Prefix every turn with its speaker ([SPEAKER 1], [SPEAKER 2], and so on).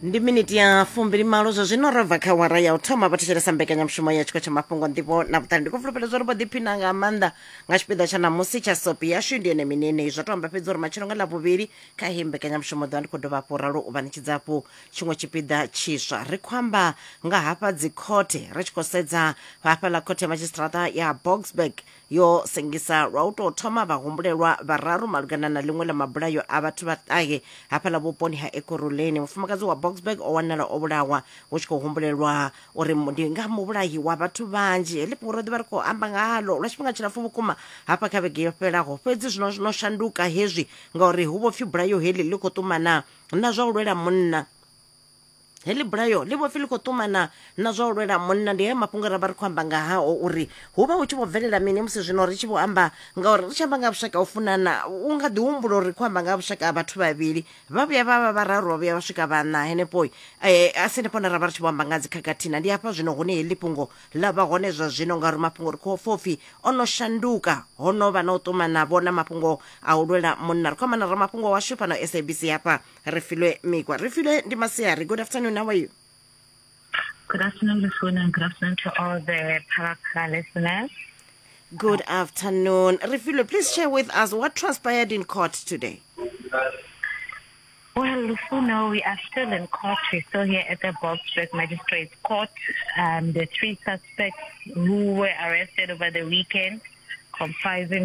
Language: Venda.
[SPEAKER 1] Ndi miniti ya 28 zwa zwino ro bva kha wara ya u thoma. Vha thetshelesa mbekanyamushumo ya tshiko tsha mafhungo, nḓivho na vhuṱali. Ndi khou fulufhela zwa uri vho ḓiphina nga maanḓa nga tshipiḓa tsha ṋamusi tsha sopi yashu. Ndi yone mini yeneyi zwa to amba fhedzi uri matshelo nga Ḽavhuvhili kha heyi mbekanyamushumo ḓovha ndi khou dovha hafhu ralo u vha ṋetshedza hafhu tshiṅwe tshipiḓa tshiswa. Ri khou amba nga hafha dzikhothe, ri tshi khou sedza hafhaḽa khothe ya madzhisiṱiraṱa ya Boksburg yo sengisa lwa u tou thoma vhahumbulelwa vhararu malugana na ḽiṅwe ḽa mabulayo a vhathu vha ṱahe hafhaḽa vhuponi ha Ekurhuleni. Mufumakadzi wa Boksburg o wanala o vhulawa hu tshi khou humbulelwa uri ndi nga muvhulahi wa vhathu vhanzhi. Heḽi fhungo ro ḓi vha ri khou amba nga haḽo lwa tshifhinga tshilapfu vhukuma hafha kha vhege yo fhelaho, fhedzi zwino no shanduka hezwi ngauri hu vho pfi bulayo heḽi ḽi khou ṱumana na zwa u lwela munna. Heḽi bulayo ḽi vho pfi ḽi khou ṱumana na zwa u lwela munna. Ndi haya mafhungo ra vha ri khou amba nga hao uri hu vha hu tshi vho bvelela mini musi zwino ri tshi vho amba, ngauri ri tshi amba nga vhushaka u funana u nga ḓi humbula uri ri khou amba nga vhushaka ha vhathu vhavhili, vha vhuya vha vha vhararu, vha vhuya vha swika vhaṋa henefho. A si henefho na ra vha ri tshi vho amba nga dzikhakhathi na ndi hafha zwino hune heḽi fhungo ḽa vha hone zwa zwino, ngauri mafhungo ri khou pfa upfi o no shanduka, ho no vha na u ṱumana vho na mafhungo a u lwela munna. Ri khou amba na ramafhungo washu fhano SABC hafha, Refilwe Mikwa. Refilwe, ndi masiari. Good afternoon, how are you?
[SPEAKER 2] Good afternoon, Lufuno, and good afternoon to all the Phala listeners.
[SPEAKER 1] Good afternoon. Refilwe, please share with us what transpired in court today.
[SPEAKER 2] Well, Lufuno, we are still in court. We're still here at the Boksburg Magistrates Court. The three suspects who were arrested over the weekend, comprising